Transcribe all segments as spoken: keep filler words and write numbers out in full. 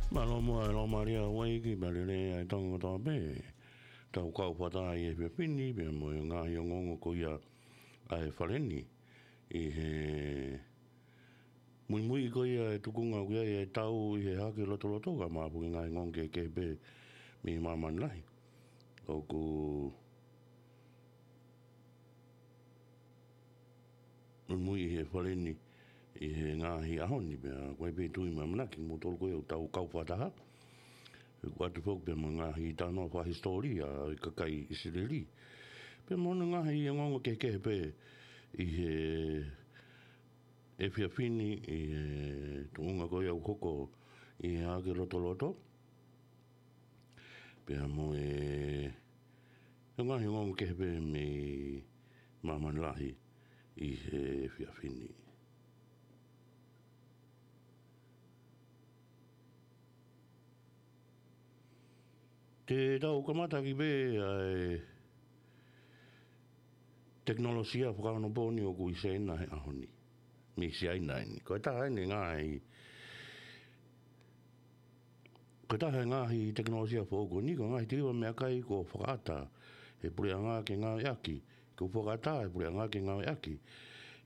Mālō muʻa e Loma Maria Hawaiki, pea lelei ʻa e Tonga kotoa pē. Tau kau fakataha ʻi he efiafi ni, pea mo e ngaahi ongoongo ko ia ʻa e fale ni. ʻI he muimui ko ia e tukunga ʻoku ʻi ai e tau ʻi he hake lotoloto ka mapu ki he ngaahi ongoongo kehekehe pē mei māmani lahi. ʻOku muimui ʻi he fale ni ʻi he ngaahi ʻaho ni pea, ko e pē tui mo e ʻamanaki mo tolu ko ia ʻoku tau kau fakataha. ʻOku ʻoatu foki pea mo e ngaahi talanoa fakahisitōlia ʻo e kakai ʻIsileli. Pea mo e ngaahi ongoongo kehekehe pē ʻi he efiafi ni ʻi he tukunga ko ia ʻoku hoko ʻi he hake lotoloto. Pea mo e, e ngaahi ongoongo kehe pē mei māmani lahi ʻi he efiafi ni. Te tau kamata ʻaki pē ʻa e tekinolosia fakaonopōni ʻoku ʻi Siaina he ʻaho ni. Mei Siaina eni. Ko e taha eni e ngaahi, ko e taha e ngaahi tekinolosia foʻou ko eni, ko e ngaahi tiliva meʻakai kuo fakaʻata he puleʻanga ke ngāueʻaki, kuo fakaʻata he puleʻanga ke ngāueʻaki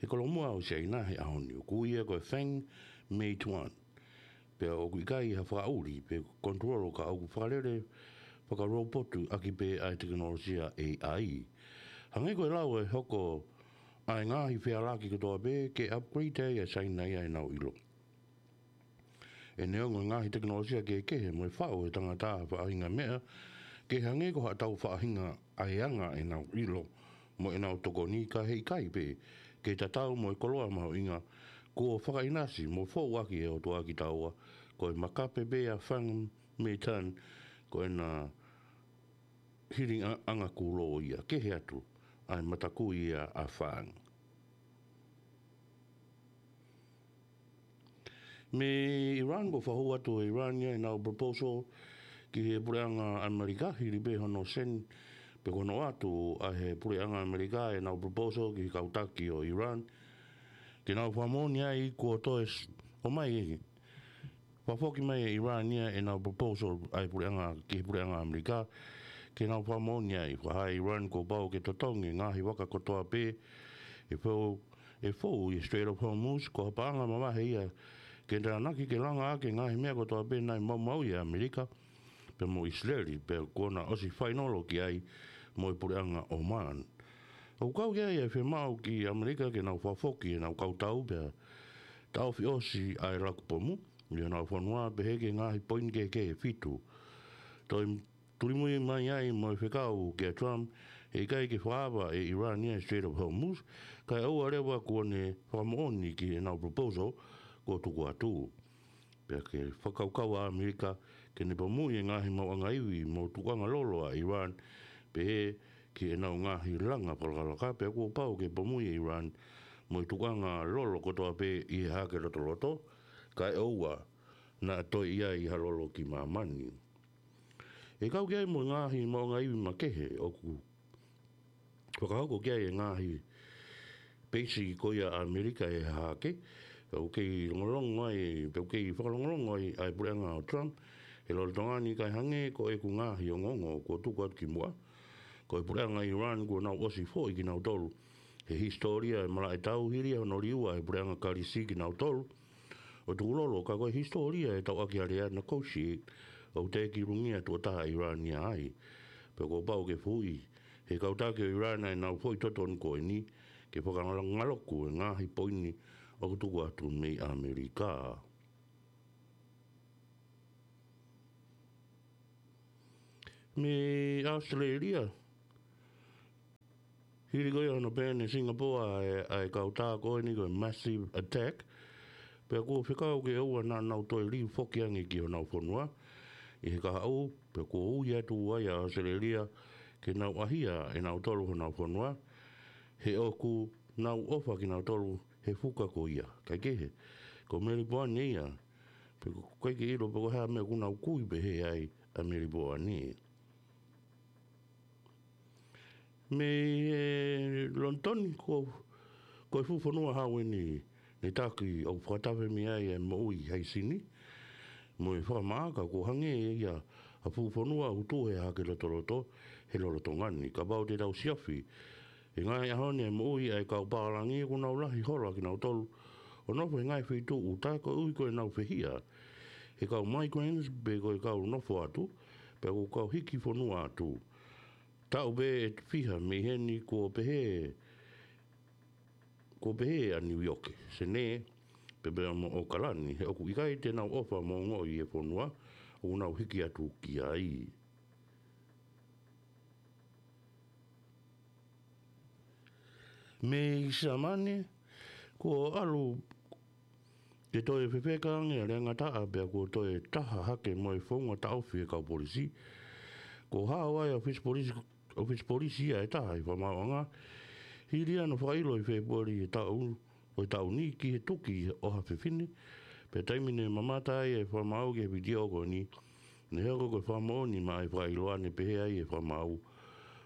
he kolomuʻa ʻo Siaina he ʻaho ni. ʻOku ui ia ko e Feng Meituan. Pea ʻoku ʻikai ha fakaʻuli pe control ka ʻoku fakalele fakarōpotu ʻaki pē ʻa e tekinolosia A I. Hangē ko e lau ʻe hoko ʻa e ngaahi fealaki kotoa pē ke upgrade ai ʻa Siaina ia ʻenau ʻilo. ʻE neongo e ngaahi tekinolosia kehekehe mo e faʻu ʻe he tangata ha faʻahinga meʻa ke hangē ko haʻatau faʻahinga ʻa e anga ʻenau ʻilo mo ʻenau tokoni ka heʻikai pē ke tatau mo e koloa mahuʻinga kuo fakaʻinasi mo foʻu ʻaki ʻe he ʻOtua kitaua, ko e makape pē ʻa Feng Meituan, ko ʻena hiliʻanga kūlou ia, kehe atu ʻa e matakui ia ʻa Feng. Mei Iran, kuo fakahū atu ʻe Iran ia ʻenau proposal ki he puleʻanga ʻAmelika, hili pē hono send pe ko hono ʻoatu ʻe he puleʻanga ʻAmelika ʻenau proposal ki he kau taki ʻo Iran ke nau fakamoʻoni ai kuo toe s-, ʻomai, fakafoki mai ʻe Iran ia ʻenau proposal ʻa e puleʻanga, ki he puleʻanga ʻAmelika ke nau fakamoʻoni ai. Fakahā ʻe Iran kuo pau ke totongi e ngaahi vaka kotoa pē ʻe fou, ʻe fou ʻi he Strait of Hormuz, ko ha paʻanga mavahe ia ke tānaki ke langa ʻaki e ngaahi meʻa kotoa pē naʻe maumauʻi ʻe ʻAmelika pea mo ʻIsileli, pea kuo na ʻosi fainolo ki ai mo e puleʻanga Oman. ʻOku kau ki ai e fiemaʻu ki ʻAmelika ke nau fakafoki ʻenau kau tau pea taʻofi ʻosi ʻa e laku pomu ʻi honau fonua pehē ki he ngaahi poini kehekehe ʻe fitu. Toe tulimui mai ai mo e fekau kia Trump, heʻikai ke fakaava ʻe Iran ia e Strait of Hormuz, kae ʻoua leva kuo ne fakamoʻoni ki heʻenau proposal kuo tuku atu. Pea ke fakakaukau ʻa ʻAmelika ke ne pomuʻi e ngaahi maʻuʻanga ivi mo tukuʻanga lolo ʻa Iran, pehē ki heʻenau ngaahi langa fakalakalaka, pea kuo pau ke pomuʻi ʻe Iran mo e tukuʻanga lolo kotoa pē ʻi he hake lotoloto, kae ʻoua naʻa toe ʻi ai ha lolo ki māmani. ʻE kau ki ai mo e ngaahi maʻuʻanga ivi makehe ʻoku fakahoko ki ai e ngaahi peisi ko ia ʻa ʻAmelika he hahake, ʻoku kei longolongo ai, pe ʻoku kei fakalongolongo ai ʻa e puleʻanga ʻo Trump he lolotonga ni, kae hangē ko ʻeku ngaahi ongoongo kuo tuku atu ki muʻa, ko e puleʻanga Iran kuo nau ʻosi foʻi kinautolu he hisitōlia e malaʻe tau, hili ia hono liua ʻe he puleʻanga Kalisi kinautolu ʻo tukulolo, ka ko e hisitōlia e tauʻaki alea negotiate ʻoku teʻeki lungia tuʻo taha ʻe Iran ia ai. Pea kuo pau ke fuʻu ʻi he kau taki ʻo Iran ʻa ʻenau foʻi totonu ko eni ke fakangaloku e ngaahi poini ʻoku tuku atu mei ʻAmelika. Mei ʻAositelēlia, hili ko ia hono pehē ʻe Singapore ʻa e, ʻa e kau tā ko eni ko e massive attack, pea kuo fekau ke ʻoua naʻa nau toe liu foki ange ki honau fonua ʻi he kahaʻu, pea kuo ui atu ai ʻa ʻAositelēlia ke nau ʻahia ʻe nautolu honau fonua, he ʻoku nau ʻofa kinautolu he fuka ko ia. Kae kehe, ko Melipoane ia, pea ʻoku ʻikai ke ʻilo pe ko e hā e meʻa ʻoku nau kui pehē ai ʻa Melipoane. Mei he Lonitoni, ko, ko e fuʻu fonua hau eni ne taki ʻoku fakatafe mei ai e moʻui haisini. mo e fakamaʻa, ka ʻoku hangē ia ha fuʻu fonua ʻoku tuʻu he hahake lotoloto he lolotonga ni. Kapau te tau siofi he ngaahi ʻaho ni e moʻui ʻa e kau pālangi, ʻoku nau lahi holo ʻa kinautolu ʻo nofo he ngaahi feituʻu ʻuta koeʻuhi ko ʻenau fehiʻa he kau migrants pe ko e kau nofo atu, pe ko e kau hiki fonua atu. Taʻu pē ʻe fiha mei heni kuo pehē, kuo pehē ʻa Niu ʻIoke, Senē, pea pehē mo ʻAokalani, he ʻoku ʻikai te nau ʻofa mo ongoʻi e fonua ʻoku nau hiki atu ki ai. Mei Siamane, kuo ʻalu ke toe fefeka ange ʻa Leangataʻa pea kuo toe taha hake mo e founga taʻofi e kau polisi. Kuo hao ai ʻa e ʻōfisi polisi, ʻōfisi polisi ia ʻe taha ʻi Fakamaauʻanga, hili ia hono fakaʻilo ʻi Fēpueli ʻo e taʻu, ʻo e taʻu ni ki he tuki ʻo ha fefine, pea taimi ne mamata ai e fakamaau ki he vitiō ko eni, ne hoko ko e fakamoʻoni maʻa e fakaʻiloa ne pehē ai e fakamaau,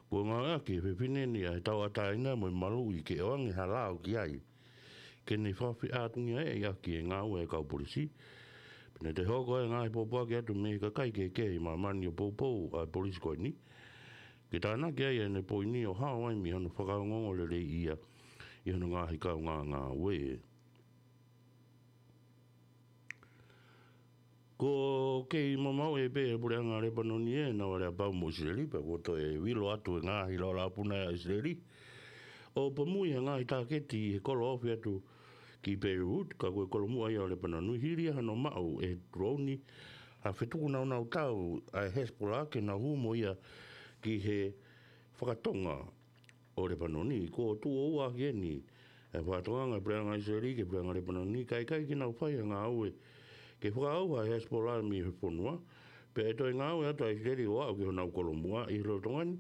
kuo ngāueʻaki e fefine ni ʻa e tauʻatāina mo e maluʻi ke ʻoange ha lao ki ai, ke ne fakafeʻātungiaʻi ʻaki e ngāue ʻa e kau polisi. Pea ne toe hoko ai e ngaahi pōpoaki atu mei he kakai kehekehe ʻi māmani ʻo poupou ʻa e polisi ko eni ke tānaki ai ʻene poini ʻo hao ai mei hono fakaongoongo lelei ia ʻi hono ngaahi kaungāngāue. Kuo kei mamauʻi pē ʻe he puleʻanga Lepanoni ʻenau aleapau mo ʻIsileli, pea kuo toe vilo atu e ngaahi laulāpuna ʻa ʻIsileli ʻo pomuʻi ha ngaahi tāketi he kolo ofi atu ki Beirut, ka ko e kolomuʻa ia ʻo Lepanoni, hili ia hono maʻu ʻe he drone ha fetuku naunau tau ʻa e Hezbollah ke nau hū mo ia ki he fakatonga ʻo Lepanoni. Kuo tuʻo ua ʻaki eni e fakatokanga ʻa e puleʻanga ʻIsileli ki he puleʻanga Lepanoni, kae ʻikai ke nau fai ha ngāue ke fakaʻauha e Hezbollah mei he fonua, pea ʻe toe ngāue atu ʻa ʻIsileli ʻo aʻu ki honau kolomuʻa ʻi he lolotonga ni.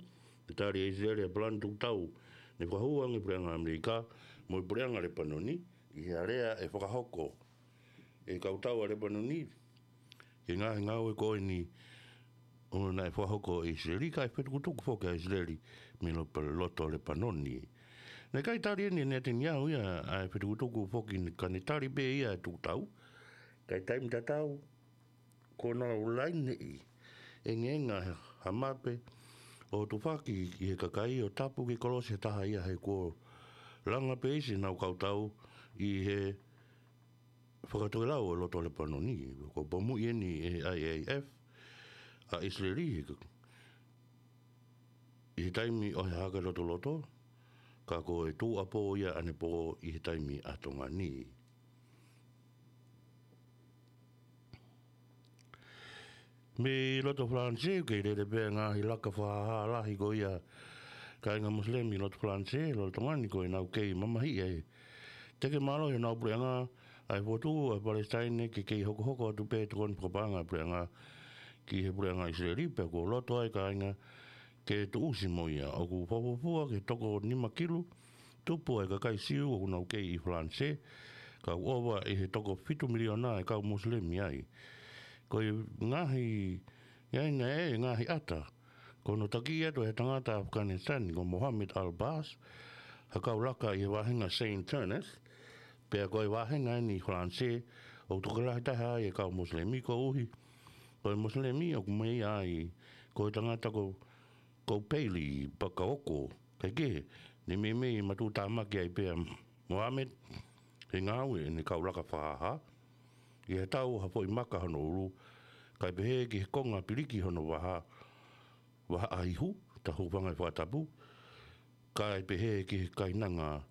Naʻe tali ʻe ʻIsileli e palani tukutau ne fakahū ange ʻe he puleʻanga ʻAmelika mo e puleʻanga Lepanoni ʻi he alea ʻe fakahoko ʻe he kau tau ʻa Lepanoni ki he ngaahi ngāue ko eni ʻo naʻe fakahoko ʻe ʻIsileli, kae fetukutuku foki ʻa ʻIsileli mei lo-, loto Lepanoni. Naʻe ʻikai tali eni ʻe Netanyahu ia ʻa e fetukutuku foki ni, ka ne tali pē ia e tukutau. Kae taimi tatau, kuo nau laineʻi e ngaahi ha mape ʻo tufaki ki he kakai ʻo tapu ke kolosi ha taha ia, he kuo langa pē ʻe ʻenau kau tau ʻi he fakatokelau ʻo loto Lepanoni. Kuo pomuʻi eni ʻe he I A F ʻa ʻIsileli he ka-, ʻi he taimi ʻo e hahake lotoloto, ka ko e tuʻuapō ia ʻanepō ʻi he taimi ʻa Tonga ni. Mei loto Falanisē, kei lele pē ngaahi laka fakahā lahi ko ia ʻa e kāinga Mosilemi ʻi loto Falanisē, lolotonga ni ko ʻenau kei mamahiʻi ʻa e teke mālohi ʻenau puleʻanga, ʻa e fokotuʻu ʻa Palesitaine, ke kei hokohoko atu pē tokoni fakapaʻanga ʻa e puleʻanga ki he puleʻanga ʻIsileli, pea kuo loto ai e kāinga ke tuʻusi mo ia. ʻOku fakafuofua ki he toko nima kilu tupu ʻa e kakai Siu ʻoku nau kei ʻi Falanisē, ka ʻoku ʻova ʻi he toko fitu miliona e kau Mosilemi ai. Ko e ngaahi, ʻi ai naʻe ngaahi ʻata, ko hono taki atu ʻe he tangata ʻAfikanisitani ko Mohamed Al-Bas ha kau laka ʻi he vāhenga Saint Ernest, pea ko e vāhenga eni ʻi Falanisē ʻoku tokolahi taha ai e kau Mosilemi, koeʻuhi ko e Mosilemi ʻoku meʻa ai ko e tangata ko, ko Pēli Pakaoko. Kae kehe, ne meimei matuʻutāmaki ai pē ʻa Mohamed he ngāue ʻene kau laka fakahā, ʻi ha tau ha foʻi maka hono ʻulu, kae pehē ki he konga piliki hono vaha, vahaʻa ihu, ta hūfanga he fakatapu, kae pehē ki he kainanga,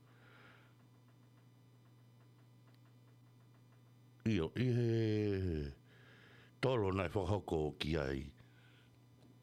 ʻio, ʻi he tolo naʻe fakahoko ki ai.